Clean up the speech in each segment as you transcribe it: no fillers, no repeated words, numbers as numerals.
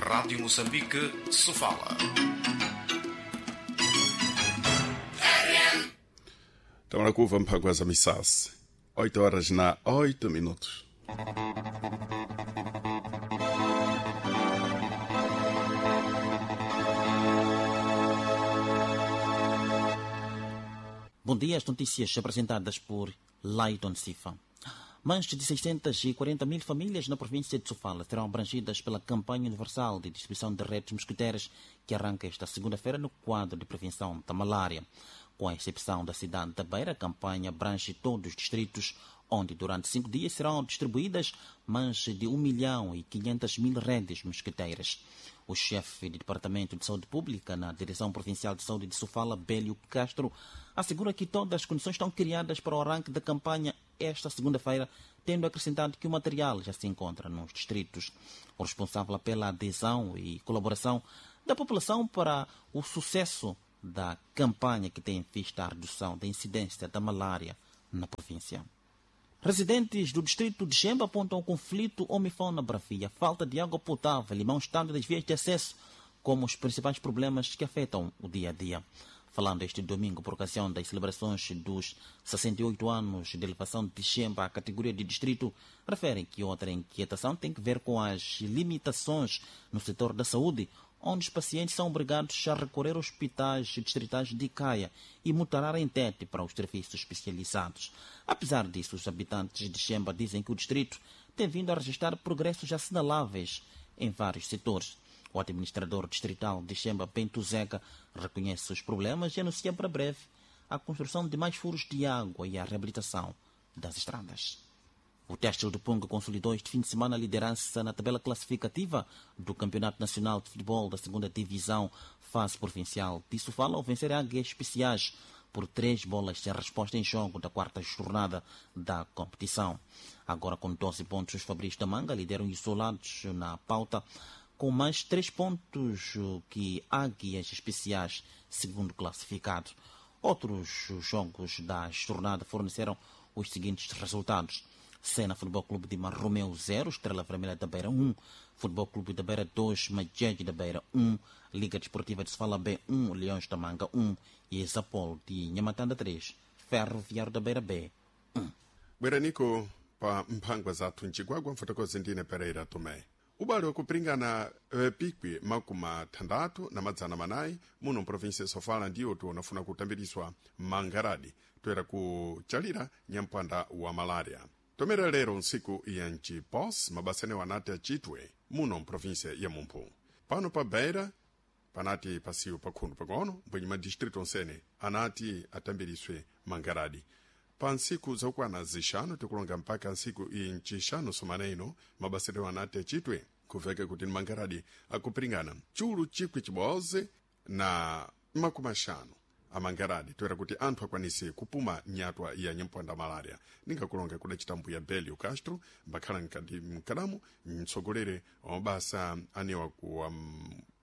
Rádio Moçambique, Sofala. Estamos na curva Mpaguasa Missas. 8 horas na 8 minutos. Bom dia, as notícias apresentadas por Lighton Sifa. Mais de 640 mil famílias na província de Sofala serão abrangidas pela campanha universal de distribuição de redes mosquiteiras que arranca esta segunda-feira no quadro de prevenção da malária. Com a exceção da cidade da Beira, a campanha abrange todos os distritos, onde durante 5 dias serão distribuídas mais de 1 milhão e 500 mil redes mosquiteiras. O chefe de Departamento de Saúde Pública na Direção Provincial de Saúde de Sofala, Bélio Castro, assegura que todas as condições estão criadas para o arranque da campanha esta segunda-feira, tendo acrescentado que o material já se encontra nos distritos. O responsável pela adesão e colaboração da população para o sucesso da campanha que tem em vista a redução da incidência da malária na província. Residentes do distrito de Xemba apontam o conflito homem-fauna bravia, falta de água potável e mau estado das vias de acesso como os principais problemas que afetam o dia a dia. Falando este domingo por ocasião das celebrações dos 68 anos de elevação de Xemba à categoria de distrito, referem que outra inquietação tem que ver com as limitações no setor da saúde, onde os pacientes são obrigados a recorrer aos hospitais distritais de Caia e Mutarara em Tete para os serviços especializados. Apesar disso, os habitantes de Xemba dizem que o distrito tem vindo a registrar progressos assinaláveis em vários setores. O administrador distrital de Xemba, Bento Zeca, reconhece os problemas e anuncia para breve a construção de mais furos de água e a reabilitação das estradas. O Têxtil do Pungo consolidou este fim de semana a liderança na tabela classificativa do Campeonato Nacional de Futebol da 2ª Divisão, fase provincial. Disso fala ao vencer Águias Especiais por 3 bolas sem resposta em jogo da quarta jornada da competição. Agora com 12 pontos, os Fabris da Manga lideram isolados na pauta com mais 3 pontos que Águias Especiais, segundo classificado. Outros jogos da jornada forneceram os seguintes resultados. Sena Futebol Clube de Marromeu 0, Estrela Vermelha da Beira 1, Futebol Clube da Beira 2, Majegue da Beira 1, Liga Desportiva de Sofala B 1, Leões da Manga 1 e Exapol de Nhamatanda 3, Ferroviário da Beira B 1. Bweranico pa mphangwa zathu mcigwagwa mfotokozi ndine Pereira Tomé. Ubale wakupringana pikwi makumi athandathu na madzana manayi muno mprovinsia ya Sofala ndiwo tiwonafuna kutambiriswa mangaradi toera kuchalira nyampanda wa malaria. Tomera lero ntsiku ya ncipos mabasa anewo anati acitwe muno mprovinsia ya Mumphu. Pano pa Beira panati pasiwo pakhundu pang'ono mbwenye madistritu onsene anati atambiriswe mangaradi. Pa ntsiku zakukwana zixanu tikulonga mpaka ntsiku incixanu sumana ino mabasa anewo anati acitwe kuveka kuti ni mangaradi akupiringana chulu chikwi chibodzi na makumi axanu amangaradi toera kuti anthu akwanise kupuma nyatwa ya nyampwanda malaria. Ningakulonga kudacita mbuya Belio Castro mbakhala mkadamu mtsogoleri wa mabasa anewa kuwa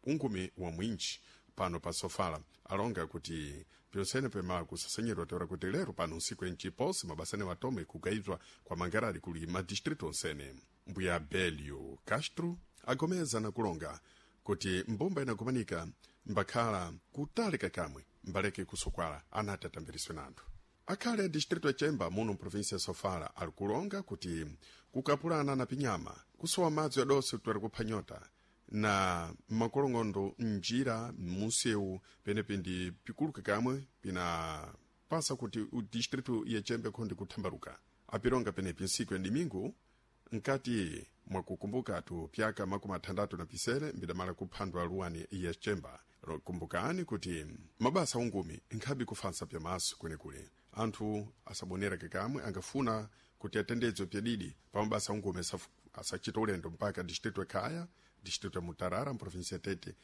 ungumi wa mwinji pano pa Sofala alonga kuti pyonsene pemala kusasenyedwa toera kuti lero pano nsiku enciposi mabasa anewo atome kugayizwa kwa mangaradi kuli madistritu onsene. Mbuya Belio Castro agomeza na kulonga kuti mbumba inakumanika mbakhala kutalika kamwe mbaleke kusokwala anati atambiriswe na anthu. Akhale a distritu ya Chemba muno mprovinsia ya Sofala ali kulonga kuti kukapulana na pinyama kusowa madzi adonse kutwera kupha nyota na makolong'ondo mnjira munsewu penepi ndi pikuluka kamwe pinapasa kuti distritu ya Chemba ikhondi kuthambaluka. Apilonga penepi ntsiku ya domingo nkati mwakukumbukatu pyaka makumi athandathu na pisere mbidamala kuphandwa luwani ya Chemba. Kumbukani kuti mabasa ungumi nkhabe kufansa pyamaso kwenekule anthu asabonera kakamwe angafuna kuti atendedzwe pyadidi pa mabasa ungumi asachita ulendo mpaka distritu ya Khaya, distritu ya Mutarara mprovinsia ya Tete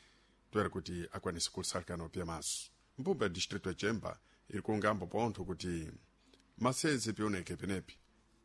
toera kuti akwanise kusalikana pyamaso. Mbumba ya distritu ya Chemba ili kulongambo pontho kuti maseze pioneke penepi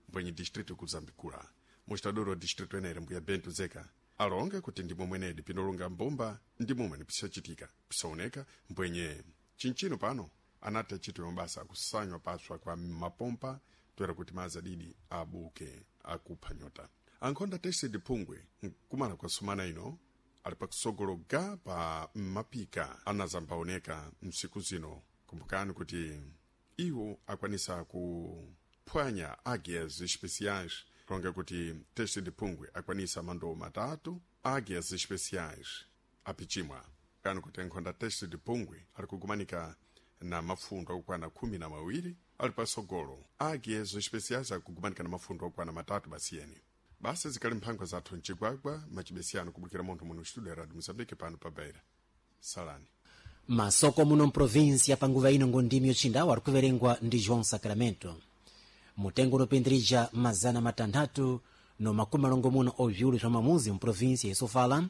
mbwenye distritu kuzambikula. Mustadoro wa distritu enere mbuya Bento Zeka alonga kuti ndimo mwenedi pinolonga mbumba ndi momwe pisachitika pisaoneka mbwenye chinchino pano anati achitwe mabasa akusanywa paswa kwa mapompa toera kuti madzi adidi abuke akupha nyota. Ankhonda tested phungwe nkumala kwa sumana ino. Ali pakusogolo ga pa mapika anazambaoneka msiku zino. Kumbukani kuti iwo akwanisa kuphwanya Águias Especiais, kulonga kuti Teste de Pungwe akwanisa mandowo matatu, Águias Especiais apichimwa. Kani kuti nkhonda Teste de Pungwe ali kugumanika na mafundo akukwana 12, ali pasogolo. Águias Especiais akugumanika na mafundo akukwana 3 basiyeni. Basi zikali mphangwa zathu mcigwagwa macibesiyano kubukira munthu muno studio ya Radio Mozambique pano pa Beira. Salani. Masoko muno mprovinsia panguva ino ngondimi yochindawo ari kuverengwa ndi João Sacramento. Mutengo unopindirija 660 ovyulu swa mamuzi mprovinsia ya Sofala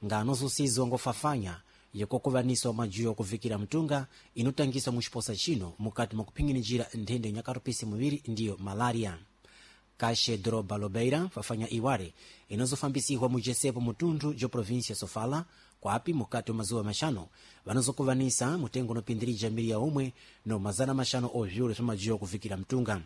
nga anozusizwa ngofafanya yakokuvaniswa majuyo okuvikira mtunga inotangiswa muxiposa chino mukati mwa kuphinginijira nthenda inyakarupisi muviri ndiyo malaria. Kashe Droba Lobeira fafanya iware inozofambisihwa mujesepo mutunthu jo província Sofala, kwapi mukati wa mazuwa maxanu vanozokuvanisa mutengo unopindirija miliya umwe no 500 ovyulu swa majuyo okuvikira mtunga.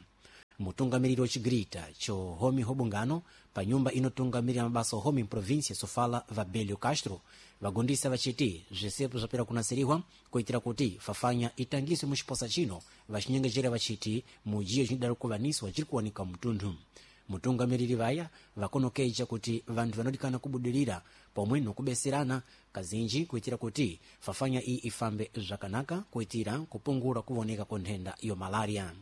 Mutungamiriri wa chigrita cho homi hobungano pa nyumba inotungamirira mabasa ohomi mprovinsia Sofala, Vabelio Castro, vagundisa vachiti zvisepo zvapera kunasirihwa kuitira kuti fafanya itangiswe muxiposa chino, vachinyengejera vachiti mujiyo chinodaro kuvaniswa chiri kuwanika mutunthu. Mutungamiriri vaya vakonokeja kuti vanthu vanodikana kubudirira pomwe nokubeserana kazinji kuitira kuti fafanya iyi ifambe zvakanaka kuitira kupungura kuvoneka kwa nthenda yo malaria.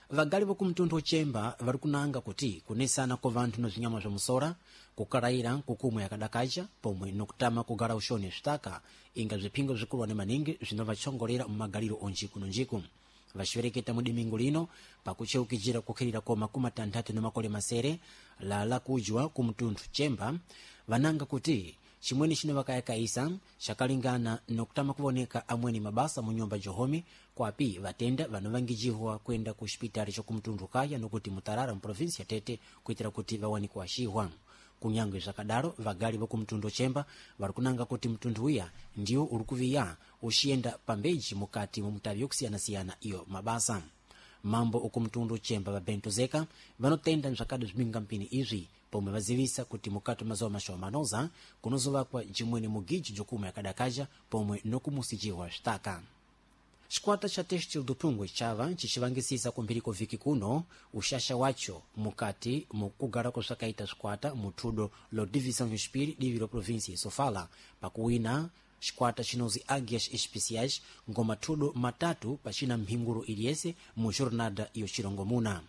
Vagali vokumtunthu ochemba vari kunanga kuti kunesana kwa vanthu na zvinyama zva musora, kukaraira kukumwe yakadakacha pomwe nokutama kugara uxoni zvitaka inga zviphingo zvikulwane maningi zvinovatshongolera mumagaliro o njiku no njiku. Vaxivereketa mudimingu lino pakucheukijira kukhirira kwa 67 lala kujwa kumtunthu Chemba, vananga kuti chimweni chino vakayakaisa chakalingana nokutama kuvoneka amweni mabasa mu nyumba johomi, kwapi vatenda vanovangijihwa kwenda ku xipitali chokumtunthu kaya nokuti Mutarara muprovinsi ya Tete kuitira kuti vawane kuaxihwa. Kunyange zvakadaro, vagali vokumtunthu Chemba vari kunanga kuti mtunthu uya ndiwo uri kuviya uxiyenda pambeji mukati mwa mutavi yokusiyanasiyana iyo mabasa. Mambo okumtundu Chemba va Bento Zeka vanotenda mzvakadi zvipingampini izvi pomwe vazivisa kuti mukati mazuva mashoma manoza kunozovakwa jimweni mugiji jokumwe yakadakaja pomwe nokumusijihwa zvitaka. Chikwata cha Têxtil do Pungwe chava chichivangisisa kumphiri kwa vhiki kuno uxaxa wacho mukati mukugara kwazvakaita zvikwata muthudo lo Divisão Yoxipiri divi lo província ya Sofala pakuwina chikwata chinozi Águias Especiais ngoma thudo 3 pachina mphinguro iliyese mu jornada yochirongomuna.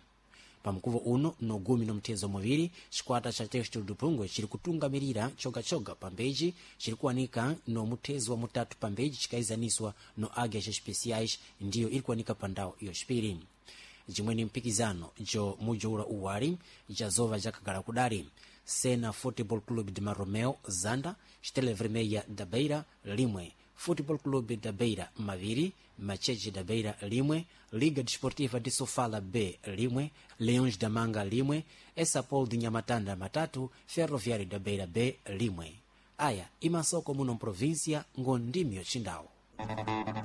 Pamkuvo uno no 12 chikwata cha Têxtil do Pungwe chiri kutungamirira chogachoga pambeji chiri kuwanika no muthezo wa mutatu pambeji chikaizaniswa no Águias Especiais ndiyo iri kuwanika pa ndau yoxipiri. Jimweni mpikizano jo mujoura uwali jazova jakagala kudali: Sena Football Club de Maromeo zanda, Estrela Vermelha da Beira 1, Football Clube da Beira 2, Macheche da Beira 1, Liga Desportiva de Sofala B 1, Leões da Manga 1, Essapol de Nhamatanda 3, Ferroviário da Beira B 1. Aya imasoko muno mprovíncia ngondimyo chindau.